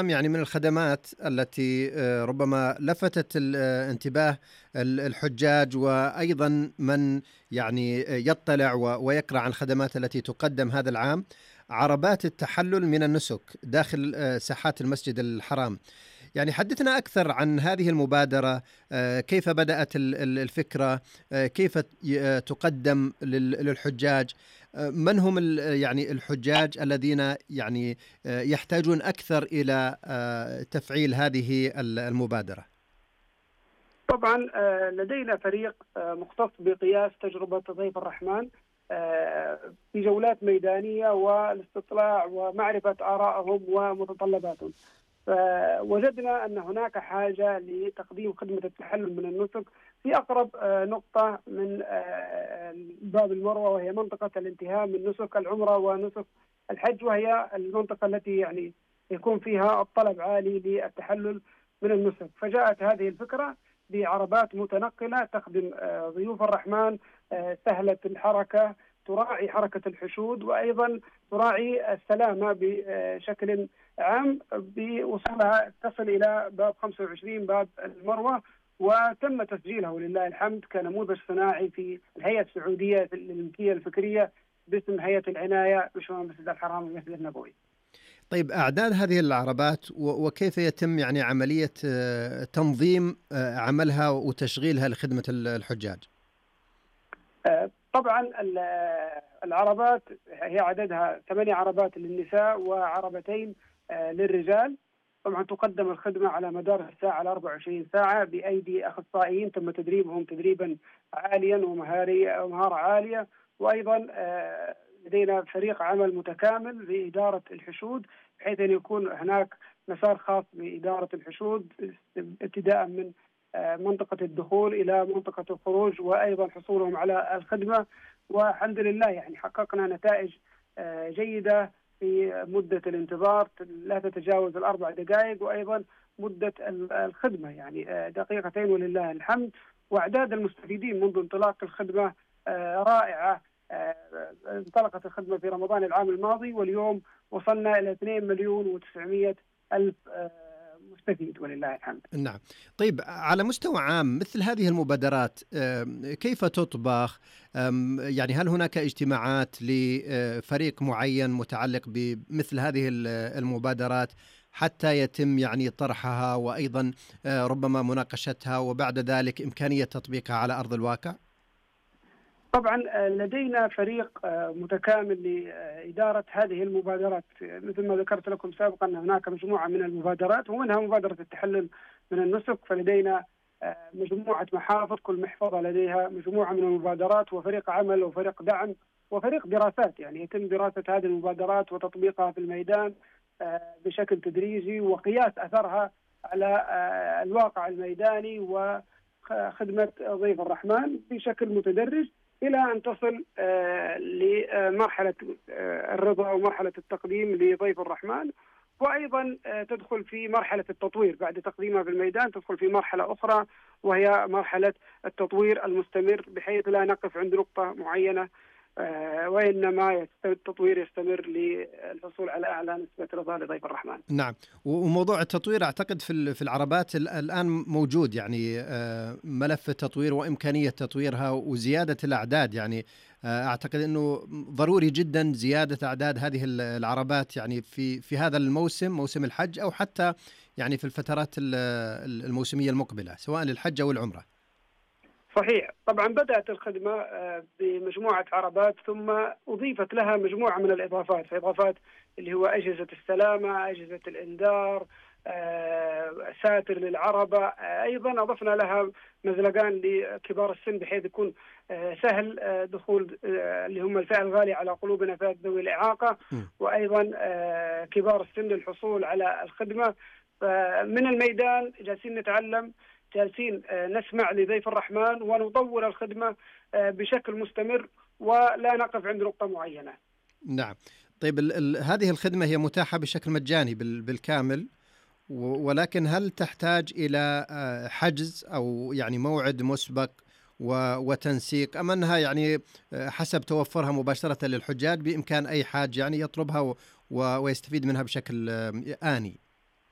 يعني من الخدمات التي ربما لفتت انتباه الحجاج، وأيضا من يعني يطلع ويقرأ عن الخدمات التي تقدم هذا العام، عربات التحلل من النسك داخل ساحات المسجد الحرام. يعني حدثنا أكثر عن هذه المبادرة، كيف بدأت الفكرة، كيف تقدم للحجاج، من هم يعني الحجاج الذين يعني يحتاجون أكثر إلى تفعيل هذه المبادرة؟ طبعا لدينا فريق مختص بقياس تجربة ضيف الرحمن في جولات ميدانية والاستطلاع ومعرفة آرائهم ومتطلباتهم. فوجدنا أن هناك حاجة لتقديم خدمة التحلل من النسك في أقرب نقطة من باب المروة، وهي منطقة الانتهاء من نسك العمرة ونسك الحج، وهي المنطقة التي يعني يكون فيها الطلب عالي للتحلل من النسك. فجاءت هذه الفكرة بعربات متنقلة تخدم ضيوف الرحمن، سهلة الحركة، تراعي حركة الحشود، وأيضا تراعي السلامة بشكل عام، بوصولها تصل إلى باب 25 باب المروة، وتم تسجيلها ولله الحمد كنموذج صناعي في الهيئة السعودية للملكية الفكرية باسم هيئة العناية بشؤون المسجد الحرام والمسجد النبوي. طيب، أعداد هذه العربات وكيف يتم يعني عملية تنظيم عملها وتشغيلها لخدمة الحجاج؟ طبعا العربات هي عددها 8 عربات للنساء وعربتين للرجال. طبعا تقدم الخدمة على مدار الساعة على 24 ساعة بأيدي أخصائيين تم تدريبهم تدريبا عاليا ومهارة عالية، وأيضا لدينا فريق عمل متكامل لإدارة الحشود، بحيث أن يكون هناك مسار خاص بإدارة الحشود ابتداء من منطقة الدخول إلى منطقة الخروج، وأيضا حصولهم على الخدمة. والحمد لله يعني حققنا نتائج جيدة في مدة الانتظار لا تتجاوز 4 دقائق، وأيضا مدة الخدمة يعني 2 دقيقتين ولله الحمد. وأعداد المستفيدين منذ انطلاق الخدمة رائعة. انطلقت الخدمة في رمضان العام الماضي، واليوم وصلنا إلى 2,900,000 مستفيد ولله الحمد. نعم. طيب، على مستوى عام مثل هذه المبادرات كيف تطبخ؟ يعني هل هناك اجتماعات لفريق معين متعلق بمثل هذه المبادرات حتى يتم يعني طرحها، وأيضا ربما مناقشتها، وبعد ذلك إمكانية تطبيقها على أرض الواقع؟ طبعا لدينا فريق متكامل لإدارة هذه المبادرات. مثل ما ذكرت لكم سابقا أن هناك مجموعة من المبادرات، ومنها مبادرة التحلل من النسك. فلدينا مجموعة محافظ، كل محفظة لديها مجموعة من المبادرات، وفريق عمل وفريق دعم وفريق دراسات. يعني يتم دراسة هذه المبادرات وتطبيقها في الميدان بشكل تدريجي، وقياس أثرها على الواقع الميداني وخدمة ضيف الرحمن بشكل متدرج، إلى أن تصل لمرحلة الرضا ومرحلة التقديم لضيف الرحمن. وأيضا تدخل في مرحلة التطوير بعد تقديمها في الميدان، تدخل في مرحلة أخرى وهي مرحلة التطوير المستمر، بحيث لا نقف عند نقطة معينة، وإنما التطوير يستمر للحصول على أعلى نسبة رضا لضيف الرحمن. نعم. وموضوع التطوير أعتقد في العربات الآن موجود، يعني ملف التطوير وإمكانية تطويرها وزيادة الأعداد. يعني أعتقد أنه ضروري جدا زيادة أعداد هذه العربات، يعني في هذا الموسم، موسم الحج، أو حتى يعني في الفترات الموسمية المقبلة سواء للحج أو العمرة. صحيح. طبعا بدأت الخدمة بمجموعة عربات، ثم أضيفت لها مجموعة من الإضافات اللي هو أجهزة السلامة، أجهزة الإنذار، ساتر للعربة. أيضا أضفنا لها مزلقان لكبار السن، بحيث يكون سهل دخول اللي هم الفئة الغالية على قلوبنا، فئة ذوي الإعاقة، وأيضا كبار السن للحصول على الخدمة. من الميدان جالسين نتعلم، جالسين نسمع لضيف الرحمن ونطور الخدمة بشكل مستمر، ولا نقف عند نقطة معينة. نعم. طيب، هذه الخدمة هي متاحة بشكل مجاني بالكامل، ولكن هل تحتاج إلى حجز أو يعني موعد مسبق وتنسيق، أم أنها يعني حسب توفرها مباشرة للحجاج بإمكان أي حاج يعني يطلبها ويستفيد منها بشكل آني؟